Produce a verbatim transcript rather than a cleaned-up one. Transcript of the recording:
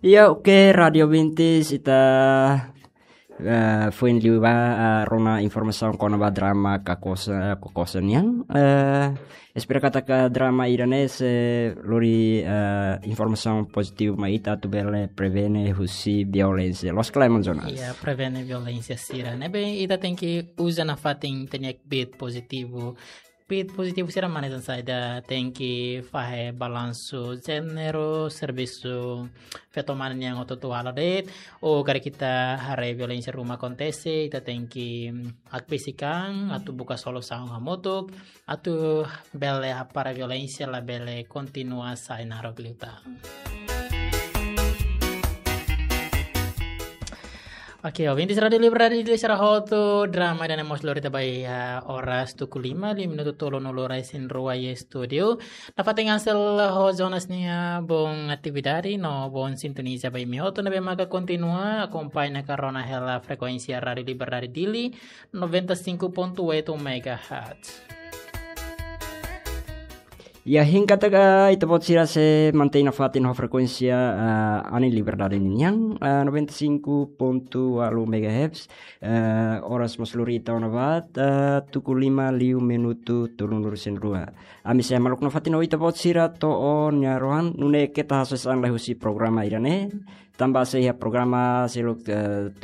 Iya, oke, Radio Vintis, ita, eh, foin liu ba, eh, rona informasaun kona-ba drama Kakosa, Kakosa nian. Eh, espera katak drama ida-ne'e sei lori, eh, informasaun pozitivu mai ita atu bele prevene husi violénsia. Loos ka lae, maun Jonas? Iya, prevene violénsia sira. Ne'ebé ita tenke uza nafatin ita-nia kbiit pozitivu. Kbiit pozitivu sira mak hanesan saida, tenke fahe balansu jéneru, servisu feto-mane nian hotu-hotu halo de'it, ou karik ita haree violénsia ruma akontese, ita tenke, mm, hakbesik an, atu buka solusaun hamutuk, atu bele hapara violénsia labele kontinua sai naruk liután. Oke, ouvintes Rádio Liberdade Dili sira hotu, drama ida-ne'e mós lori ita ba iha oras tuku lima, liu minutu tolunulu-resin-rua iha estúdiu. Nafatin hasil ho Jonas nia boot atividade no boot sintoniza ba imi hotu ne'ebé maka kontinua akompaña ka rona hela frekuénsia Rádio Liberdade Dili, noventa e cinco ponto oito megahertz. Ya, hein katak ita-boot sira sei mantein nafatin ho frekuénsia, eh, Anin Liberdade ninian, eh, noventa e cinco ponto oito megahertz, eh, oras mós lori ita ona ba, eh, tuku lima liu minutu tolunulu-resin-rua. Ami sei hamaluk nafatin ho ita-boot sira to'o nia rohan, nune'e keta hasoes an lai husi programa ida-ne'e, tanba sei iha programa seluk, eh,